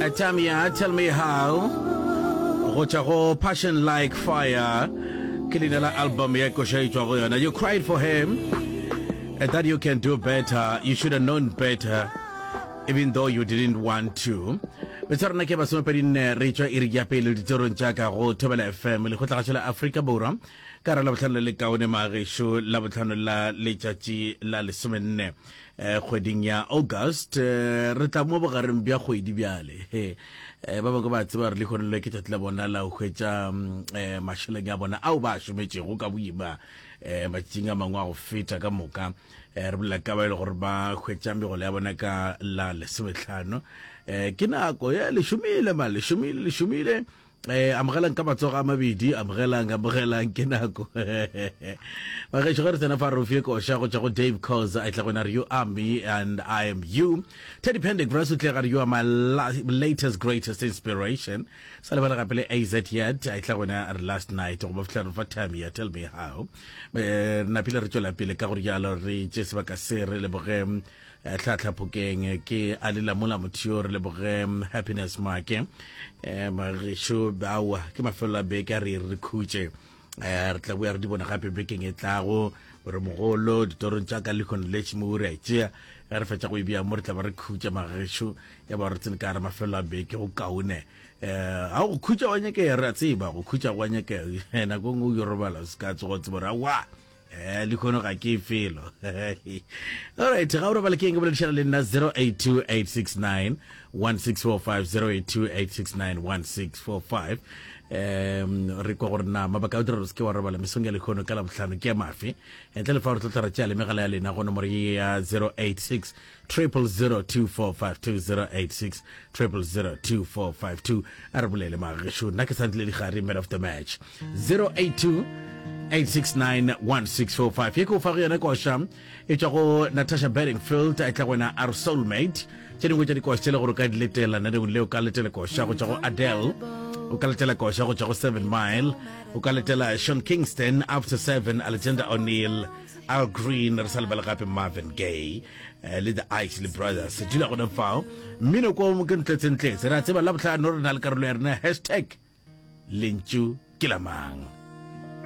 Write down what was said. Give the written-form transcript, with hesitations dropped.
Tamia, tell me how. Go tšwa go Passion Like Fire. Ke leina la album ya koša e tšwa go yona. You cried for him and that you can do better. You should have known better even though you didn't want to. Metsa rena ke masomepedi nne re tšwa iri ya pele ditorong tša ka go Thobela FM lekgotlagašo la Afrika Borwa ka ra labohlano le lekaone magešo labohlano la letšatši la lesomenne eh, kgweding ya August eh, re tla mo bogareng bja kgwedi bjale eh, ba bangwe ba tseba re lehono le ke tšatši la bona la go hwetša mm, eh, mašeleng a bona ao ba a šometšego ka boima eh, matšatšing a mangwe a go feta ka moka eh, re bolela ka ba e le gore ba hwetša megolo ya bona ka la lesometlhano eh, ke nako ya le šomile ma le šomile le šomile Eh, amogelang ka matsogo a mabedi amogelang amogelang ke nako bagešo ge re tsena fa re fie koša go tšwa go dave cause a tla go re you are me and i am you teddy pendergrass o tle gare you are my latest greatest inspiration sa lebala gape le az yet a tla go re last night go ba fihla re fa time ya tell me how eh, re napile re tšwela pele ka gore jalo re tše sebaka se re leboge Eh, tlhatlhaphokeng ke a le lamola motho yo re leboge mm, happiness make um eh, magešo aowa ke mafelo a beke a re re khutše um re tla boya re di bona gape bekeng e tlago gore mogolo ditorong tša ka lekgono le tšhimo re a tšea ge re fetša go e bea mo re tla ba re khutša magešo ya ba re tsene ka re mafelo a beke go kaone um ga go khutša wa nyakega re a tseba go khutša go a nyakega nako e nngwe o yo robala se ka tsoga o tseba gore aowa Eh, lehono ga ke felo alright ga o robale ke eng ke boledišana le nna 082869 1645 082869 1645 um re kwa gore na mabaka a dira gore se ke wa robala mesong ya lehono ka labohlano ke a mafe ntle le fa re tlo tla re tšea le megala ya lena go nomoro ye ya 086 0002452 086 0002452 a re bolele magešo nna ke santle digare man of the match 082 869 1645 ye ke o fa go yona koša e tšwa go natasha bedingfield a tla go wena our soulmate tše dingwe tša dikoša tše le gore o ka di letela naneong le o ka letela koša go tšwa go adele o ka letela koša go tšwa go seven mile o ka letela sean kingston after seven alexander o'neill Al Green re sa lebale gape Marvin Gaye eh, le the Isley Brothers dula gona fao mmino ko ke ntletsentletse re a tseba la botlhano re na le karolo ya rena hashtag lentšu ke la mang.